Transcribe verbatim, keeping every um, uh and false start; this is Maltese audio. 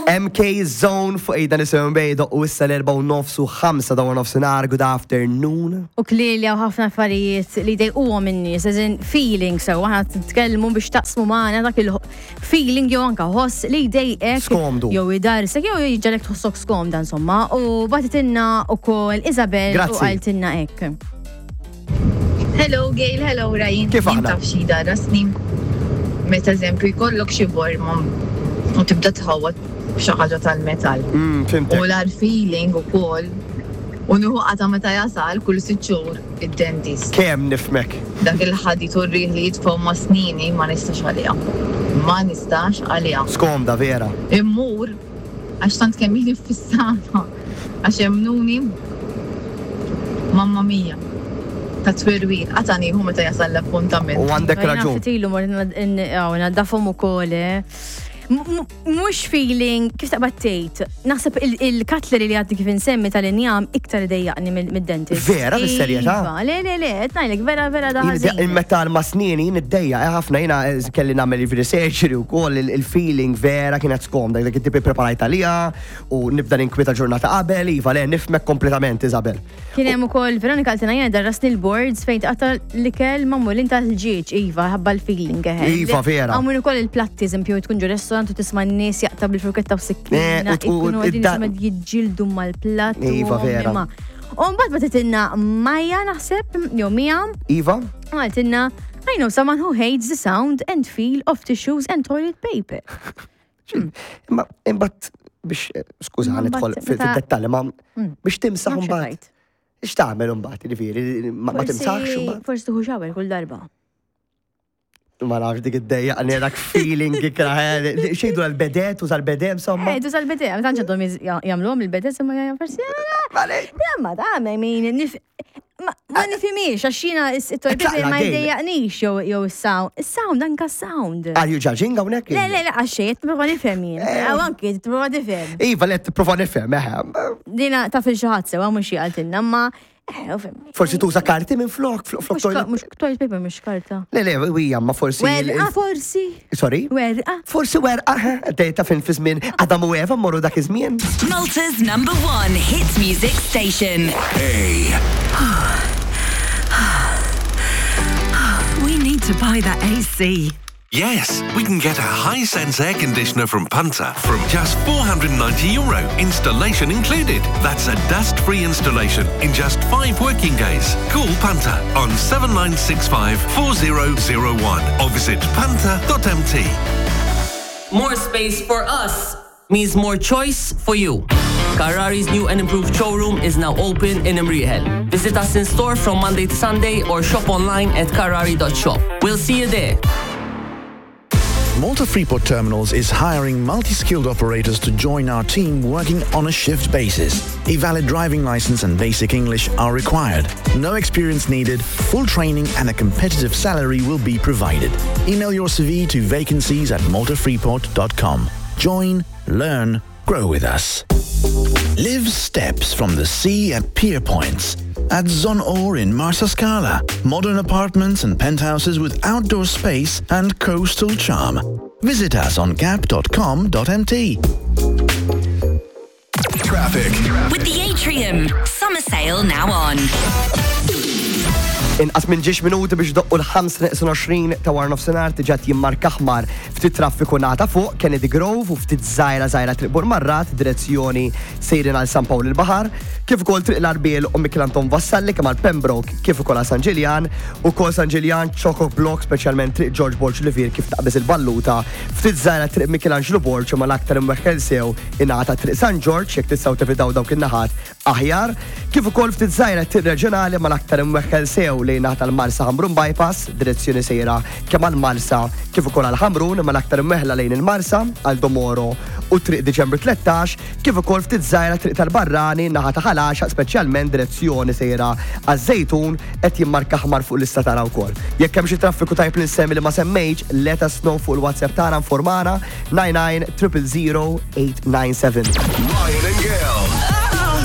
M K Zone fuq Ejda Nisimgħu bejdo u issa l-erbgħa u nofs u ħamsa ta' nofsinhar, good afternoon. U clearly hawn ħafna affarijiet li dejquhom in-nies, as in feeling, so aħna titkellmu biex taqsmu magħna dak il-feeling jew anka ħoss li jdejqek. Skomdu. Jew idarsek jew jġagħlek tħossok skomda, insomma. U bagħtitilna ukoll Isabel u Grazzi. qaltilna hekk. Hello Gail, hello Ryan. Kif aħna? Taf xi darasni? Meta, eżempju, jkollok xi borma u tibda tħawwad b'xi ħaġa tal-metall. Mm, fhimtek. U l feeling ukoll u nieħu qata meta jasal kull sitt xhur id-dentist. Kemm nifhmek. Dak il-ħadid u r-riħ li jitfgħu ma' snini ma nistax għaliha. Ma nistax għaliha. Skomda vera. Immur għax tant kemm ili fissata għax emmnuni, mamma mia, ta' twerwir għata nieħu meta jasal l-appuntament. U għandek raġun. Ftit ilu mort naddafhom ukoll, eh. M- m- Mhux feeling, kif taqbad tgħid, naħseb il-cutlery li għaddi kif insemmi tal-injam iktar idejjaqni mid-dentist. Vera, bis-serjetà? Iva, le, le, le, qed ngħidlek vera, vera da ħażin. Il-metal ma' snini niddejjaq eh, ħafna. Jiena eh, kelli nagħmel il-surgery u koll il-feeling vera kienet skomda, dak it-tipi preparajt għalija u nibda ninkwieta ġurnata qabel. Iva, le, nifhmek kompletament, Isabel. Kien hemm ukoll Veronika, qaltilna jiena darrasni l-boards fejn tqatta' l-ikel magħmulin tal-ħġieġ, iva, ħabba l-feeling eħe. Iva, vera. Hawn min ukoll il-platti, eżempju, tkun ġo restaurant u tisma' n-nies jaqta' bil-furketta u Eh, sikkina, u- u- ikunu għadin id-da- jisimgħu jiġġieldu mal-platt. u Iva, vera. imma. U mbagħad bagħtitilna Maja naħseb, jew Mija, Iva? qaltilna, "I know someone who hates the sound and feel of tissues and toilet paper." Imma imbagħad biex, eh, skuża, Imma nidħol mbagħad fil- meta- fid-dettalji, ma biex timsaħ Nafx imbagħad. tgħid. X'tagħmel imbagħad, jiġifieri, ma ma timsaħx imbagħad? Forsi tieħu shower kull darba. Ma nafx, dik id-dejja dak feeling ikrah. Xejdu l-bidet, uża l-bidet, insomma. Eh, tuża l-bidet, ma tantx għadhom jagħmluhom il-bidet, imma forsi. Ma da, I mean, nif- ma ma nifhimix, għax jiena it-toilet paper ma Gail. jdejjaqnix jew jew is-sound. Is-sound, anka sound. Are you judging hawnhekk? Le, le, le, għax xejn, tipprova nifhem jien. Aw anki tipprova tifhem. Iva, le, tipprova nifhem, eħe. Dina taf il xi ħadd sewa mhux xi qaltilna, ma eh, u fhem. Forsi tuża karti minn flok, flok, flok Mhux ka- toilet. Mhux toilet paper, mhux karta. Le, le, wija, ma forsi. il- Werqa forsi. Sorry? Werqa. Forsi werqa, ta' fin fi żmien Adam u Eva morru dak iż-żmien. Malta's number one hit music station. A. We need to buy that A C. Yes, we can get a Hisense air conditioner from Punter from just four hundred ninety euro, installation included. That's a dust-free installation in just five working days. Call Punter on seven nine six five four zero zero one or visit punter dot M T. More space for us means more choice for you. Carrari's new and improved showroom is now open in Imrieħel. Visit us in store from Monday to Sunday or shop online at carrari dot shop. We'll see you there. Malta Freeport Terminals is hiring multi-skilled operators to join our team working on a shift basis. A valid driving license and basic English are required. No experience needed, full training and a competitive salary will be provided. Email your C V to vacancies at maltafreeport dot com. Join, learn, grow with us. Live steps from the sea at Pier Points. At Zonor in Marsascala. Modern apartments and penthouses with outdoor space and coastal charm. Visit us on gap dot com dot M T. Traffic. With the Atrium. Summer sale now on. Inqas minn ġiex minuti biex doqqu l-ħamsa neqsin għoxrin ta' wara nofsinhar, diġà jimmarka aħmar ftit traffiku nata fuq Kennedy Grove u ftit żgħira żgħira Triq Burmarrad, direzzjoni sejrin għal San Pawl il-Baħar, kif ukoll Triq l-Arbiel u Mikiel Anton Vassalli kemm għal Pembroke kif ukoll għal San Ġiljan, u kol San Ġiljan chock-a block, speċjalment Triq George Borg Olivier kif taqbeż il-Balluta, ftit żgħira Triq Michelangelo Borg, imma l-aktar imweħħel sew ingħata Triq San Ġorġ, jekk tistgħu tevitaw dawk in-naħat aħjar, kif ukoll ftit żgħira Triq Reġjonali, ma l-aktar imweħħel sew lejn naħa tal-Marsa Ħamrun Bypass, direzzjoni sejra kemm għal-Marsa kif ukoll għal Ħamrun, imma l-aktar imweħla lejn il-Marsa għal Domoro u Triq Diċembru tlettax, kif ukoll ftit żgħira Triq tal-Barrani naħa ta' Ħal Għaxaq, speċjalment direzzjoni sejra għaż-Żejtun, qed jimmarka aħmar fuq l-lista tara wkoll. Jekk hemm xi traffiku tajb li nsemmi li ma semmejtx, let us know fuq il-WhatsApp tagħna, informana nine nine zero zero zero eight nine seven. Ryan and Gail.